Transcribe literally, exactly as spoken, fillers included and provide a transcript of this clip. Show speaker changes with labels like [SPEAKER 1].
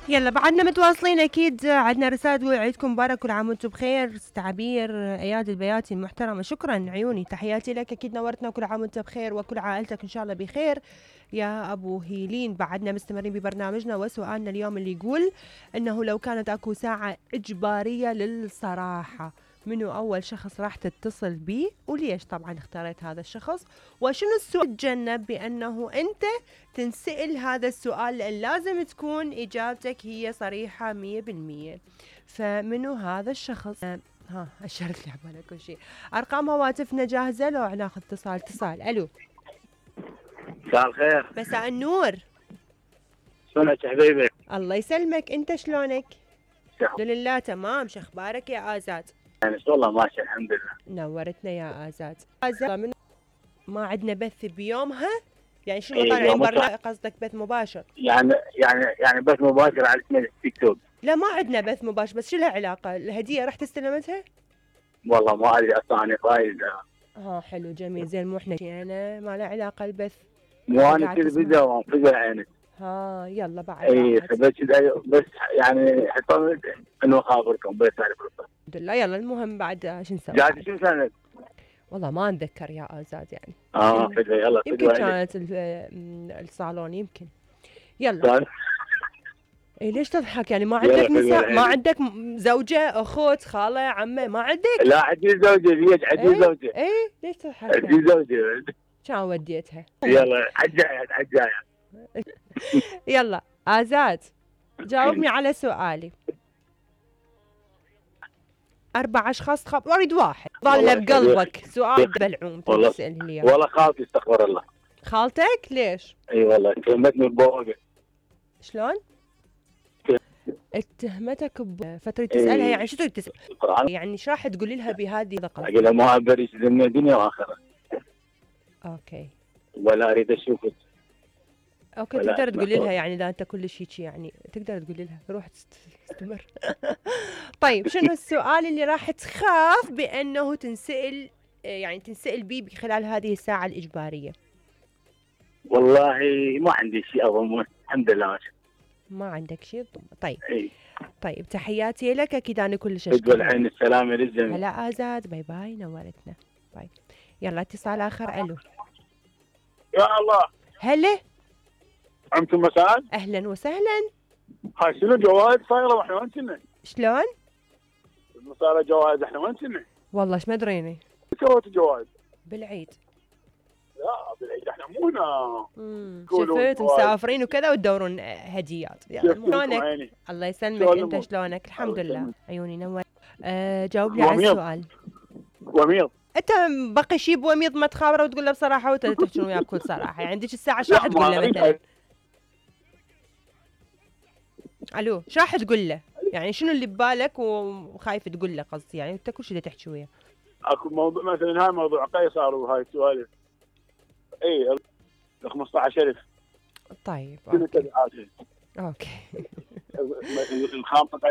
[SPEAKER 1] يلا بعدنا متواصلين اكيد، عندنا رسالة تقول عيدكم مبارك كل عام وانتم بخير. تعبير اياد البياتي المحترمة، شكرا عيوني، تحياتي لك، اكيد نورتنا، كل عام وانت بخير وكل عائلتك ان شاء الله بخير يا ابو هيلين. بعدنا مستمرين ببرنامجنا وسؤالنا اليوم اللي يقول انه لو كانت اكو ساعة اجبارية للصراحة، منو اول شخص راح تتصل بيه وليش طبعا اختاريت هذا الشخص؟ وشنو السؤال تجنب بانه انت تنسأل هذا السؤال، لأن لازم تكون إجابتك هي صريحة مية بالمية. فمنو هذا الشخص؟ ها أشرت لي عبالك كل شيء. أرقام هواتفنا جاهزة لو ناخذ اتصال؟ اتصال. ألو،
[SPEAKER 2] مساء الخير.
[SPEAKER 1] مساء النور.
[SPEAKER 2] شلونك حبيبي؟
[SPEAKER 1] الله يسلمك، أنت شلونك؟ الحمد لله تمام. شو أخبارك يا آزاد؟
[SPEAKER 2] يعني والله ماشي الحمد لله.
[SPEAKER 1] نورتنا يا آزاد. آزاد من ما عندنا بث بيومها، يعني شنو
[SPEAKER 2] إيه
[SPEAKER 1] طالعين
[SPEAKER 2] يوم
[SPEAKER 1] برنامج قصدك بث مباشر؟
[SPEAKER 2] يعني يعني يعني بث مباشر على اسم التيك توك.
[SPEAKER 1] لا ما عندنا بث مباشر، بس شو لها علاقة؟ الهدية رحت استلمتها؟
[SPEAKER 2] والله ما ادري اصلا انا قايل.
[SPEAKER 1] اه حلو جميل زين. مو احنا انا ما له علاقه البث.
[SPEAKER 2] مو انا
[SPEAKER 1] قاعد
[SPEAKER 2] كذا
[SPEAKER 1] تسمع.
[SPEAKER 2] فيديو وانفجر عيني.
[SPEAKER 1] ها يلا بعد
[SPEAKER 2] اي
[SPEAKER 1] راحت.
[SPEAKER 2] فبس بس يعني حطيت انه خابركم بس تعرف.
[SPEAKER 1] الحمد لله. يلا المهم بعد شو نسوي؟
[SPEAKER 2] قاعد شو سنه؟
[SPEAKER 1] والله ما اتذكر يا آزاد يعني.
[SPEAKER 2] اه فدوى يلا
[SPEAKER 1] يمكن
[SPEAKER 2] فدوى
[SPEAKER 1] كانت ال- الصالون يمكن. يلا. اي ليش تضحك يعني؟ ما عندك نساء؟ ما عندك م- زوجة اخت خالة عمة ما عندك؟
[SPEAKER 2] لا عندي زوجة ليش عندي
[SPEAKER 1] ايه
[SPEAKER 2] زوجة.
[SPEAKER 1] ايه ليش تضحك يعني؟
[SPEAKER 2] عندي زوجة.
[SPEAKER 1] كان وديتها.
[SPEAKER 2] يلا عالجاية عالجاية.
[SPEAKER 1] يلا آزاد جاوبني على سؤالي. أربع أشخاص خاب أريد واحد ظل
[SPEAKER 2] والله
[SPEAKER 1] بقلبك سؤال بلعوم
[SPEAKER 2] والله
[SPEAKER 1] تسأله لي إياه.
[SPEAKER 2] والله خالتي استغفر الله.
[SPEAKER 1] خالتك ليش؟
[SPEAKER 2] اي والله كلمتني ببوقة.
[SPEAKER 1] شلون؟ اتهمتك بفترة تسألها
[SPEAKER 2] إيه.
[SPEAKER 1] يعني شو تريد تسأل؟
[SPEAKER 2] القرآن
[SPEAKER 1] يعني شو راح تقولي لها بهذه القصة؟
[SPEAKER 2] اقول له ما ابريش دنيا دنيا واخره
[SPEAKER 1] اوكي
[SPEAKER 2] ولا اريد اشوفك.
[SPEAKER 1] اوكي
[SPEAKER 2] ولا
[SPEAKER 1] تقدر
[SPEAKER 2] أسمع
[SPEAKER 1] تقولي لها
[SPEAKER 2] صوت.
[SPEAKER 1] يعني اذا انت كل شيء يعني تقدر تقولي لها روح تست- تستمر. طيب شنو السؤال اللي راح تخاف بانه تنسأل، يعني تنسأل بيه خلال هذه الساعة الإجبارية؟
[SPEAKER 2] والله ما عندي شيء اظن الحمد لله ماشي.
[SPEAKER 1] ما عندك شيء؟ طيب
[SPEAKER 2] اي
[SPEAKER 1] طيب تحياتي لك، اكيد انا كلش
[SPEAKER 2] بدو
[SPEAKER 1] اشكرك.
[SPEAKER 2] العين السلامه للجميع.
[SPEAKER 1] هلا آزاد، باي باي نورتنا. باي. يلا اتصال اخر. الو
[SPEAKER 2] يا الله.
[SPEAKER 1] هلا
[SPEAKER 2] انتم مساء.
[SPEAKER 1] اهلا وسهلا.
[SPEAKER 2] هاي شنو جوائز صايره واحنا وين كنا؟
[SPEAKER 1] شلون؟
[SPEAKER 2] صايره جوائز احنا وين كنا؟
[SPEAKER 1] والله ايش ما ادريني.
[SPEAKER 2] سويت جوائز؟
[SPEAKER 1] بالعيد.
[SPEAKER 2] لا بالعيد احنا مو هنا.
[SPEAKER 1] امم
[SPEAKER 2] قولوا
[SPEAKER 1] شفت
[SPEAKER 2] جوائز.
[SPEAKER 1] مسافرين وكذا وتدورون هديات. يلا
[SPEAKER 2] كيف كنتم
[SPEAKER 1] شلونك؟
[SPEAKER 2] عيني؟
[SPEAKER 1] الله يسلمك.
[SPEAKER 2] شلون
[SPEAKER 1] انت
[SPEAKER 2] الأمور؟
[SPEAKER 1] شلونك؟ الحمد
[SPEAKER 2] الله
[SPEAKER 1] لله
[SPEAKER 2] يسلمك.
[SPEAKER 1] عيوني نور. أه جاوبني على
[SPEAKER 2] وميض.
[SPEAKER 1] السؤال.
[SPEAKER 2] وميض.
[SPEAKER 1] انت بقي شي بوميض ما تخابره وتقول له بصراحه وانت تحكي وياه بكل صراحه، يعني عندك الساعه شو راح
[SPEAKER 2] لا،
[SPEAKER 1] تقول
[SPEAKER 2] ما
[SPEAKER 1] له
[SPEAKER 2] أريد
[SPEAKER 1] مثلا؟ الو شو راح تقول له؟ يعني شنو اللي ببالك وخايف تقول له قصدي، يعني انت كل شيء تحكي وياه.
[SPEAKER 2] اكو موضوع مثلا هاي موضوع قيصر وهاي السوالف. اي ال خمسطعش ألف
[SPEAKER 1] طيب
[SPEAKER 2] كل
[SPEAKER 1] اوكي
[SPEAKER 2] التبعات.
[SPEAKER 1] اوكي.
[SPEAKER 2] الخامسة قيصر